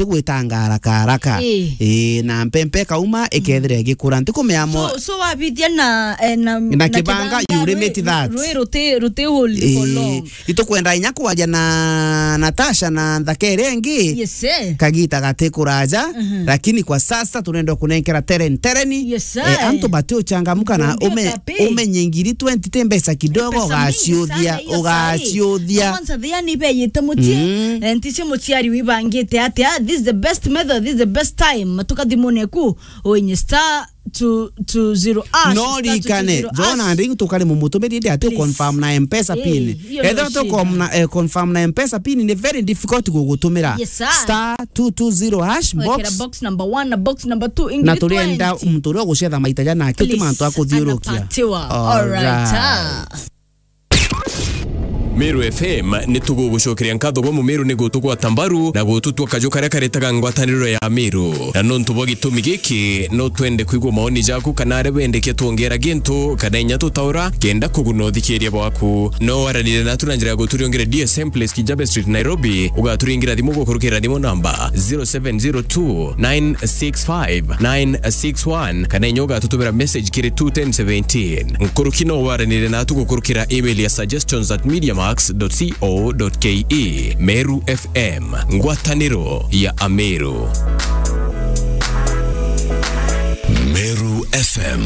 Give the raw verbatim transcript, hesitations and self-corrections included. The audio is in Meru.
tigwitanga haraka haraka. Ii. Ii, na mpempe ikauma, ikethira igikura. Ntikumea mo- So, so wabithia na, eh, na, Na na kibanga, kibanga, you limit rwi-, that. Rwi ruti, ruti hold for Ii. long. Itukwenda inya kwaria na Natasha na nthaka iria ingi. Yes, eh. Kagita gati kuraja, Mhm. lakini kwa sasa tunaenda kunenkera tereni, tereni. Yes, eh, eh. Antu bati uchangamuka na Ndio ume-, kabisa. Umenye ngiri twenty ti mbeca kidogo, Pesa mingi sana ugaciuthia, hiyo saa hii. Ugaciuthia. Kwanza thiani beyite mucii, Mm. eh, nticio muciari wibangite atia. This is the best method, this is the best time. Matuka thimune ku, uinye star two two zero hash, No star two two zero rikane, hash. Jona, ndi tukari mumutumiri ndi ati Please. Confirm na M-Pesa Eh, pin. Hiyo ndio Ethira tu shida. Com-, na, eh, confirm na M-Pesa pin ni very difficult gugutumira. Yes, sir. Star two two zero hash Wekera box. Box number one na box number two, Na ingiri turienda twenty. Muntu uria ugucetha maita jana, ati Please, mantu akuthiurukia. Anapatiwa. All right, Alright. ah. Meru F M ni tugugucokeria nkatho gwa Mumeru ni gutugwata mbaru na gututua kaju karia karetaga ngwataniro ya Meru. Na nontu bwa gitumi giki, no twende kwigua maoni jaku kana aria wendekia twongera gintu kana inya tutaura kenda kuguna uthikiria bwaku. No waranire natu na njira ya guturiongere D S M Place Kijabe Street, Nairobi. Ugaturingira thimu gukurukira thimu namba zero seven zero two nine six five nine six one kana inya ugatutumira message kiri two ten seventeen. Nkuruki no waranire natu gukurukira email ya suggestions at mediamax dot co dot ke. Meru F M, ngwataniro ya Ameru. Meru F M.